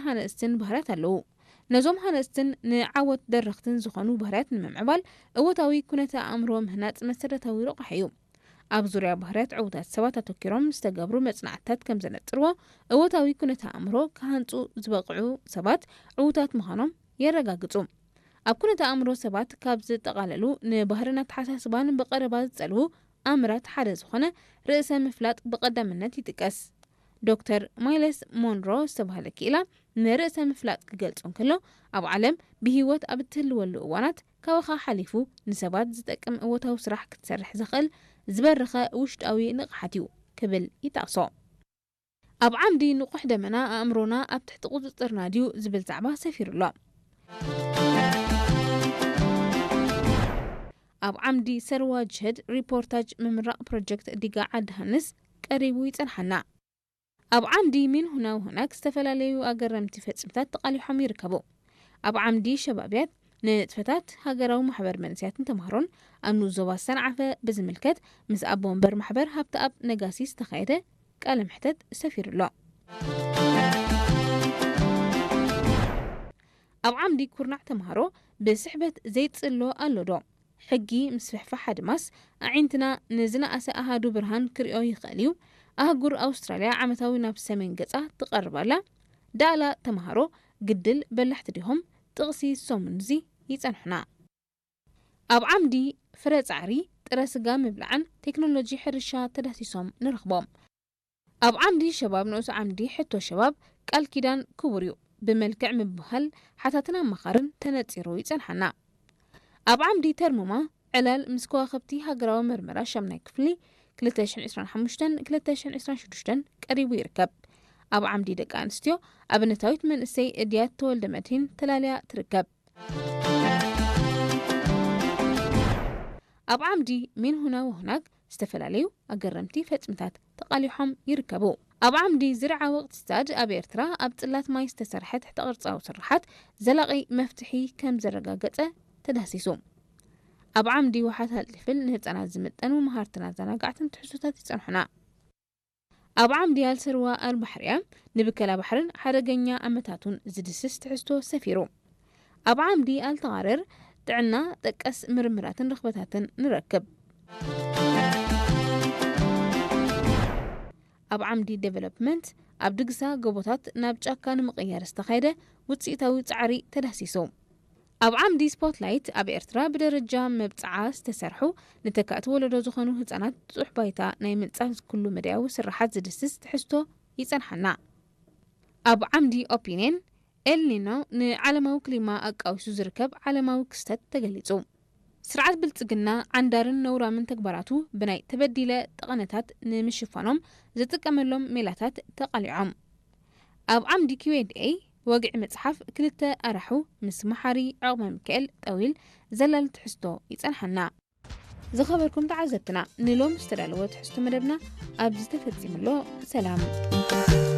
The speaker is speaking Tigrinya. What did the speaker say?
ሃነጽትን ባህርያት ኣለዉ። ነዞም ሃነጽትን ንዓወት ደረኽትን ዝኾኑ ባህርያት ንምምዕባል እወታዊ ኩነተ ኣእምሮ ምህናጽ መሰረታዊ ረቑሒ እዩ። ኣብ ዙርያ ባህርያት ዕዉታት ሰባት ኣተኪሮም ዝተገብሩ መጽናዕትታት ከም ዘነጽርዎ፣ እወታዊ ኩነተ ኣእምሮ ክሃንጹ ዝበቕዑ ሰባት ዕዉታት ምዃኖም የረጋግጹ። ኣብ ኩነተ ኣእምሮ ሰባት ካብ ዝጠቓለሉ ንባህርን ኣተሓሳስባን ብቐረባ ዝጸልዉ ኣምራት ሓደ ዝኾነ ርእሰ ምፍላጥ ብቐዳምነት ይጥቀስ። ዶክተር ማይለስ ሞንሮ ዝተባህለ ክኢላ ንርእሰ ምፍላጥ ክገልጾ እንከሎ፣ ኣብ ዓለም ብህይወት ኣብ እትህልወሉ እዋናት ካባኻ ሓሊፉ ንሰባት ዝጠቅም እወታዊ ስራሕ ክትሰርሕ ዘኽእል ዝበረኸ ውሽጣዊ ንቕሓት እዩ ክብል ይጠቕሶ። ኣብ ዓምዲ ንቑሕ ደመና ኣእምሮና ኣብ ትሕቲ ቁጽጽርና ድዩ ዝብል ዛዕባ ሰፊሩ ኣሎ። ኣብ ዓምዲ ሰርዋ ጅህድ ሪፖርታጅ ምምራቕ ፕሮጀክት ዲጋ ዓዲ ሃንስ ቀሪቡ ይጸንሓና። ኣብ ዓምዲ ሚን ሁና ሁናክ ዝተፈላለዩ ኣገረምቲ ፈጽምታት ተቓሊሖም ይርከቡ። ኣብ ዓምዲ ሸባብያት ንንጥፈታት ሃገራዊ ማሕበር መንእሰያትን ተምሃሮን ኣብ ንኡስ ዞባ ሰንዓፈ ብዝምልከት ምስ ኣቦ ወንበር ማሕበር ሃብተኣብ ነጋሲ ዝተኻየደ ቃለ መሕተት ሰፊሩ ኣሎ። ኣብ ዓምዲ ኩርናዕ ተምሃሮ ብስሕበት ዘይጽሎ ኣሎ ዶ? ሕጊ ምስፍሕፋሕ ኣድማስ ኣዒንትና ንዝነኣሰ ኣሃዱ ብርሃን ክርእዮ ይኽእል እዩ። ኣህጉር ኣውስትራልያ ዓመታዊ ናብ ሰሜን ገጻ ትቐርብ ኣላ። ዳእላ ተምሃሮ ግድል በላሕቲ ዲሆም? ጥቕሲ ሰሙንዚ ይጸንሑና። ኣብ ዓምዲ ፍረ ጻዕሪ፣ ጥረ ስጋ ምብላዕን ቴክኖሎጂ ሕርሻ ተዳህሲሶም ንረኽቦም። ኣብ ዓምዲ ሸባብ ንኡስ ዓምዲ ሕቶ ሸባብ ቃል ኪዳን ክቡር እዩ። ብመልክዕ ምብህሃል ሓታትን ኣማኻርን ተነጺሩ ይጸንሓና። ኣብ ዓምዲ ተርሙማ ዕላል ምስ ከዋኽብቲ ሃገራዊ መርመራ ሻምናይ ክፍሊ ክልተ ሽሕን ዕስራን ሓሙሽተን ክልተ ሽሕን ዕስራን ሽዱሽተን ቀሪቡ ይርከብ። ኣብ ዓምዲ ደቂ ኣንስትዮ ኣብነታዊት መንእሰይ እድያት ተወልደ መድሂን ተላልያ ትርከብ። ኣብ ዓምዲ ሚን ሁና ወሁናግ ዝተፈላለዩ ኣገረምቲ ፈጽምታት ተቓሊሖም ይርከቡ። ኣብ ዓምዲ ዝርዓ ወቕትስታድ ኣብ ኤርትራ ኣብ ጽላት ማይ ዝተሰርሐ ትሕተ ቅርጻዊ ስርሓት ዘላቒ መፍትሒ ከም ዘረጋገጸ ተዳህሲሱ። ኣብ ዓምዲ ውሓት ሃልጥፍል ንህጻናት ዝምጠኑ መሃርትን ኣዘናጋዕትን ትሕዝቶታት ይጸንሑና። ኣብ ዓምዲ ኣልሰርዋ ኣልባሕርያ ንብከላ ባሕርን ሓደገኛ ኣመታቱን ዝድስስ ትሕዝቶ ሰፊሩ። ኣብ ዓምዲ ኣልተቓረር ጥዕና ጠቀስ ምርምራትን ርኽበታትን ንረክብ። ኣብ ዓምዲ ዴቨሎፕመንት ኣብ ድግሳ ጎቦታት ናብ ጫካ ንምቕያር ዝተኻየደ ውጽኢታዊ ጻዕሪ ተዳህሲሱ። ኣብ ዓምዲ ስፖትላይት ኣብ ኤርትራ ብደረጃ መብጽዓ ዝተሰርሑ ንተካእቲ ወለዶ ዝኾኑ ህጻናት ጥጡሕ ባይታ ናይ ምንጻል ኩሉ መዳያዊ ስርሓት ዝድስስ ትሕዝቶ ይጸንሓና። ኣብ ዓምዲ ኦፒንየን ኤልኒኖ ንዓለማዊ ክሊማ ኣቃዊሱ ዝርከብ ዓለማዊ ክስተት ተገሊጹ። ስርዓት ብልጽግና ዓንዳርን ነውራምን ተግባራቱ ብናይ ተበዲለ ጠቐነታት ንምሽፋኖም ዝጥቀመሎም ሜላታት ተቓሊዖም። ኣብ ዓምዲ ኪው ኤንድ ኤይ ወግዒ መጽሓፍ ክልተ ኣራሑ ምስ መሓሪ ዖቕመ ሚካኤል ጠዊል ዘላሊ ትሕዝቶ ይጸንሓና። ዝኸበርኩም ተዓዘብትና፣ ንሎም ዝተዳለወ ትሕዝቶ መደብና ኣብዚ ተፈጺሙ ኣሎ። ሰላም።